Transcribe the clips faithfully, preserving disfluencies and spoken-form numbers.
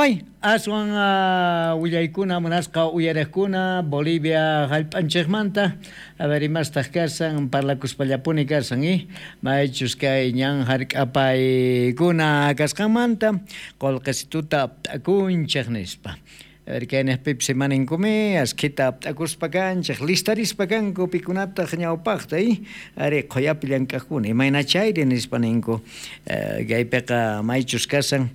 May aswan uh, willaykuna munasqa uyariqkuna Bolivia hallp'anchikmanta a ver imastaq kasan parlakuspallapuni kasan eh maychus kay ñan hark'apaykuna kasqanmanta qullqisituta apt'akunchik nispa. A ver kay niqpipis imaninkumi askhita apt'akuspa kanchik listarispa kanku pikunataq ñawpaqta eh ari qhuyapi llank'aqkuna imayna chayri nispa ninku kaypiqa maychus kasan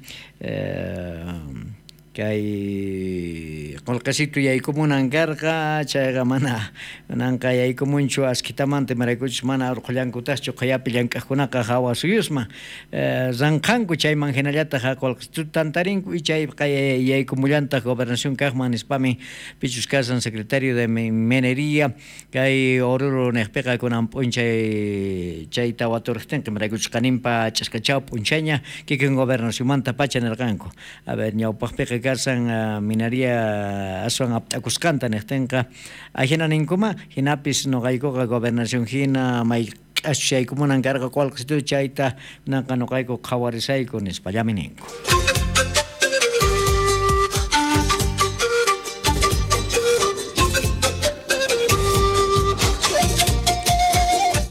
kay qullqisitu yaykumunan karqa chayqa mana nanqa yaykumunchu askhitamanta imaraykuchus mana urqhullankutaqchu qhuyapi llank'aqkunaqa hawa suyusman ranqhanku chayman hinallataq qullqisituta tantarinku y chayqa yaykumullantaq gobernación kaqman nispami pichus kasan secretario de minería kay Oruro niqpiqa kunan p'unchay chayta waturqtinqa imaraykuchus qaninpa ch'askachaw p'unchayña kikin gobernacionmanta pacha nirqanku a ver ñawpaqpiqa kasan uh, minería aswan apt'akusqanta niqtinqa ajina ninkuma hinapis nuqaykuqa gobernación hina may k'aschaykunan karqa qullqisitu chayta kunanqa nuqayku qhawarisayku nispallami ninku.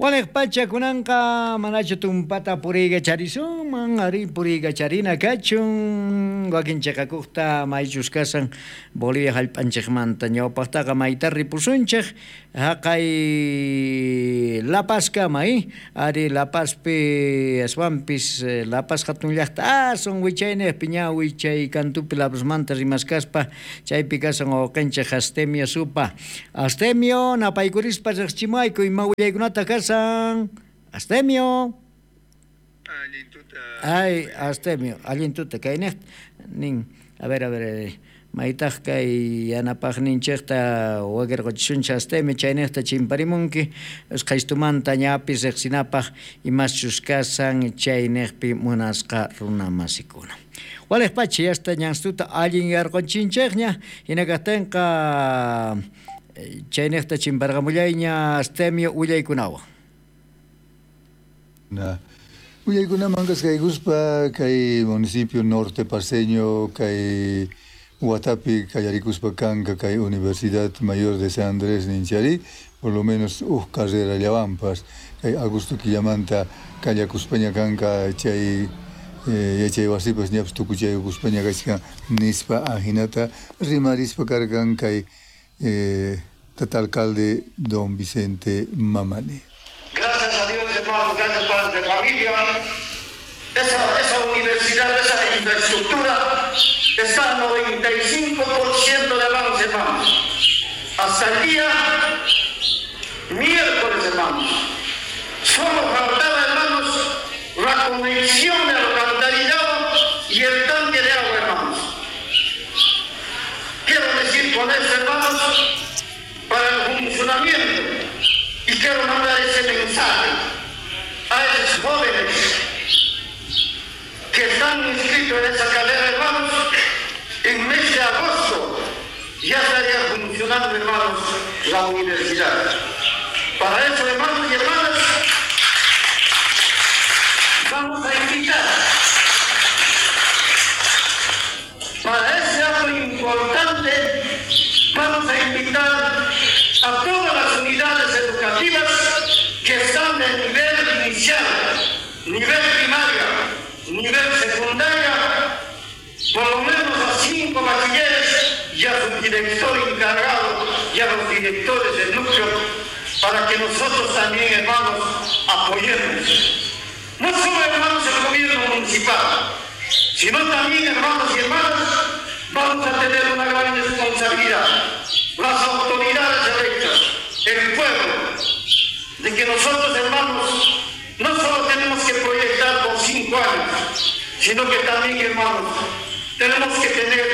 Waliq pacha kunanqa manachu tumpata puriykacharisunman ari puriykacharina kachun wakin chiqakuqta maychus kasan Bolivia hallp'anchikmanta ñawpaqtaqa mayta ripusunchik haqay La Pazkama eh ari La Pazpi aswanpis La Paz hatun llaqta aswan wichayniqpi ña wichay kantupi La Pazmanta rimaskaspa chaypi kasan wawqinchik Astemio Supa. Astemio napaykurispa riqchimayku ima willaykunata kasan Astemio. Ay, Astemio, allin tuta kay niq nin. A ver, a ver, maytaq kay yanapaqninchikta wakirquchisunchik Astemio chayniqta chimparimunki usqhaystumanta ñapis riqsinapaq imaschus kasan chayniqpi munasqa runamasikuna. Waliq pacha yasta ñanstuta allin yarqunchinchikña hina kaqtinqa chayniqta chimparqamullayña Astemio willaykunawan. Na. Willaykunaman kasqaykuspa kay municipio norte paceño kay Huatapi kallarikuspa kanka kay Universidad Mayor de San Andrés ninchari por lo menos uj carrera llawanpas kay Augusto Quillamanta kallakuspaña kanka chay eh, yachay wasipas ñapas tukuchaykuspaña kachkan nispa ajinata rimarispa karkan kay eh, tata alcalde don Vicente Mamani. Gracias a Dios, hermanos, gracias padres de familia. Esa, esa universidad, esa infraestructura está al noventa y cinco por ciento de avance, hermanos. Hasta el día miércoles, hermanos. Solo faltaba, hermanos, la conexión de alcantarillado y el tanque de agua, hermanos. Quiero decir con esto, hermanos, para el funcionamiento, y quiero mandar ese mensaje a esos jóvenes que están inscritos en esa carrera, hermanos, en mes de agosto ya estaría funcionando, hermanos, la universidad. Para eso, hermanos y hermanas, vamos a invitar para ese acto importante, vamos a invitar a todas las unidades educativas que están de nivel inicial, nivel primaria, nivel secundaria, por lo menos a cinco bachilleres y a su director encargado y a los directores del núcleo, para que nosotros también, hermanos, apoyemos. No solo, hermanos, el gobierno municipal, sino también, hermanos y hermanas, vamos a tener una gran responsabilidad. Las autoridades electas, el pueblo, de que nosotros, hermanos, no solo tenemos que proyectar por cinco años, sino que también, hermanos, tenemos que tener,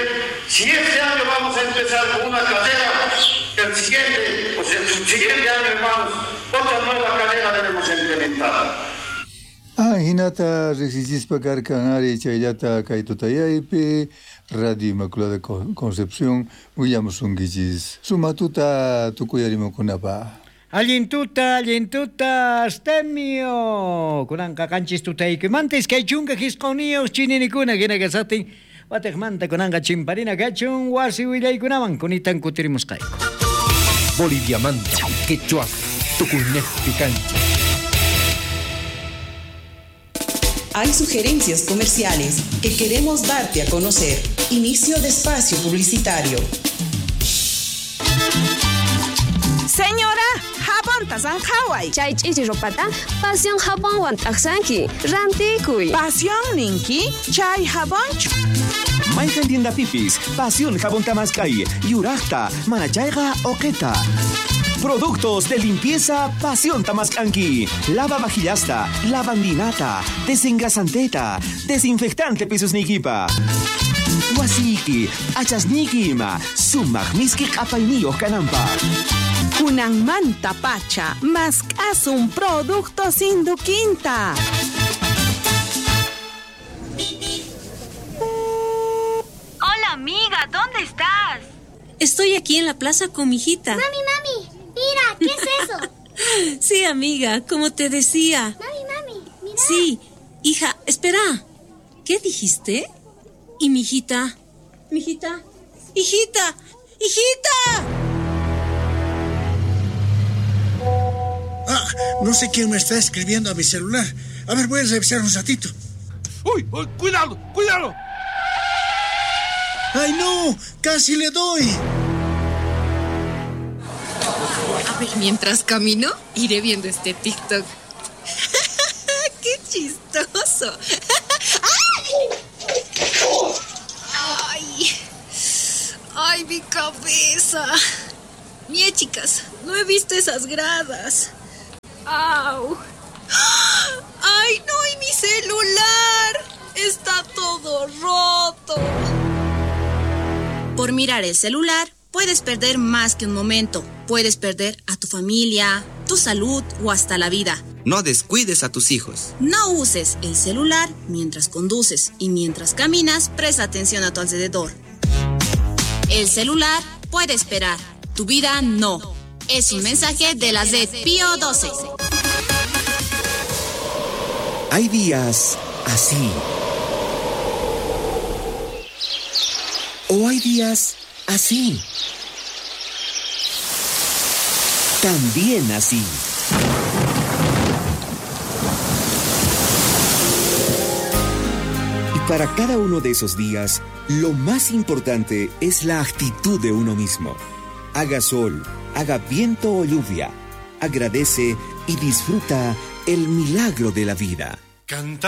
si este año vamos a empezar con una carrera, el siguiente, o sea, el subsiguiente año, hermanos, otra nueva carrera debemos implementar. Ah, hinata riqsichispa karkan ari chayllata kay tutayaypi Radio Inmaculada Concepción willamusunkichis sumatuta tukuyarimukunapaq. Allin tuta, allin tuta, Astemio. Kunanqa qanchis tutaykimantis kay chunka hisquniyuq chininikuna hina kasaqtin Watejmanta kunanqa chimparina kachun wasi willaykunaman kunitan kutirimusqayku. Boliviamanta, quechua, tukuynejpi kancha. Hay sugerencias comerciales que queremos darte a conocer. Inicio de espacio publicitario. Señora, jabonta zanjaway. Chay ch'ichi ropata Pasión jabonwan t'aqsanki. Rantikuy. Pasión ninki, chay jabonchu. Mayqan tiendapipis, Pasión jabón tamaskay, yuraqta, manachayqa oqeta. Productos de limpieza Pasión Tamascanqui. Lava vajillasta, lavandinata, desengrasanteta, desinfectante pisusnikipa. Wasiki, achasniki ima, sumaq miski q'apayniyuq kananpaq. Kunanmanta pacha, mask'asun productos Induquinta. Hola amiga, ¿dónde estás? Estoy aquí en la plaza con mi hijita. Mami, mami, mira, ¿qué es eso? Sí, amiga, como te decía. Mami, mami, mira. Sí, hija, espera. ¿Qué dijiste? ¿Y mi hijita? ¿Mi hijita? ¡Hijita! ¡Hijita! Ah, no sé quién me está escribiendo a mi celular. A ver, voy a revisar un ratito. ¡Uy! uy, ¡Cuidado! ¡Cuidado! ¡Ay, no! ¡Casi le doy! A ver, mientras camino, iré viendo este TikTok. ¡Qué chistoso! ¡Ay! ¡Ay, mi cabeza! Mie, chicas, no he visto esas gradas. ¡Au! ¡Ay, no! ¡Y mi celular! ¡Está todo roto! Por mirar el celular, puedes perder más que un momento. Puedes perder a tu familia, tu salud o hasta la vida. No descuides a tus hijos. No uses el celular mientras conduces y mientras caminas, presta atención a tu alrededor. El celular puede esperar, tu vida no. Es un mensaje de la Z Pío doce. Hay días así. O hay días así. También así. Y para cada uno de esos días, lo más importante es la actitud de uno mismo. Haga sol, haga viento o lluvia, agradece y disfruta el milagro de la vida. Canta.